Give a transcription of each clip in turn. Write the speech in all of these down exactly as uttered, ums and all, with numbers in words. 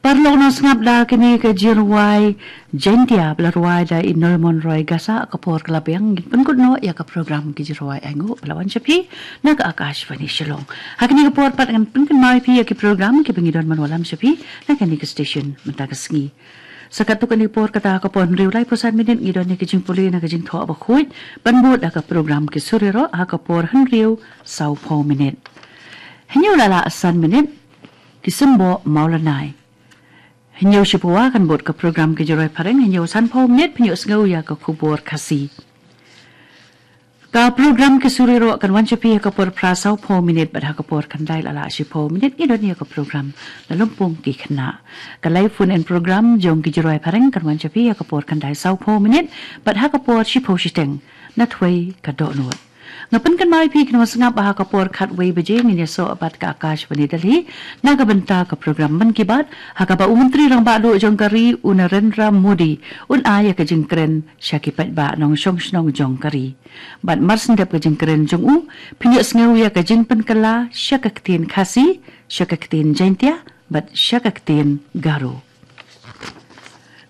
Paralok, nang sngap da kine ki jingrwai Jaintia ba la rwai da i Nolmon Roy Gasa. Ka por ka la biang, ngin pynkut noh ïa ka program ki jingrwai ainguh ba la wan sha phi na ka Akashvani Shillong. Ha kine ki por pat ngan pynkynmaw ïa phi ïa ki program kiba ngi don ban wallam sha phi na kane ka station mynta ka sngi. Sa katto katne por, kata ha ka por hynriew laiphew san minit, ngi don ïa ka jingpule na ka Jingthoh Bakhuid ban bud da ka program Ki Sur Ïaroh ha ka por hynriew sawphew minit. Hynñiew la lah san minit, Ki Symboh Mawlanai. Hynñiew shiphew kan bud ka program Ki Jingrwai Phareng. Hynñiew sanphew minit, pynïohsngew ïa ka khubor Khasi. Ka program Ki Sur Ïaroh kan wan sha phi ha ka por phra sawphew minit bad ha ka por khyndai la lah shiphew minit ngi don ïa ka program Lympung Ki Khynnah. Ka live phone in program jong Ki Jingrwai Phareng kan wan sha phi ha ka por khyndai sawphew minit bad ha ka por shiphew shiteng, Nathuwei ka Dohnud. Nga pynkynmaw ïa phi, kynmaw sngap ba ha ka por khatwei baje ngin ïasoh bad ka Akashvani Delhi na ka bynta ka program Mann Ki Baat, ha kaba u Myntri Rangbah Duh jong ka ri, u Narendra Modi, un ai ïa ka jingkren sha ki paidbah nongshong shnong jong ka ri. Bad marshen dep ka jingkren jong u, pynïohsngew ïa ka jingpynkylla sha ka ktien Khasi, sha ka ktien Jaintia bad sha ka ktien Garo.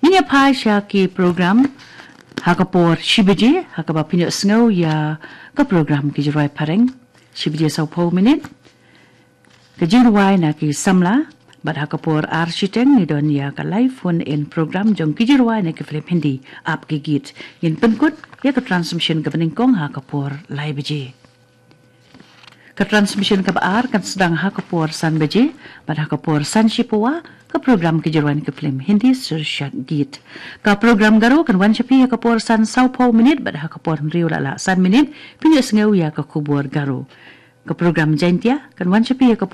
Ngin ïa phai sha ki program ha ka por shi baje, ha kaba pynïohsngew ïa ka program Ki Jingrwai Phareng. Shi baje sawphew minit, ka jingrwai na ki samla, bad ha ka por ar shiteng ngi don ïa ka live phone in program jong Ki Jingrwai na ki film Hindi, Aap Ke Geet. Ngin pynkut ïa ka transmission kaba nyngkong ha ka por lai baje. Ka transmission kaba ar kan sdang ha ka por san baje, bad ha ka por san shiphew ka program Ki Jingrwai na ki film Hindi, Shirshak Geet. Ka program Garo kan wan sha phi ha ka por san sawphew minit bad ha ka por hynriew la lah san minit, pynïohsngew ïa ka khubor Garo. Ka program Jaintia kan wan sha phi ha ka por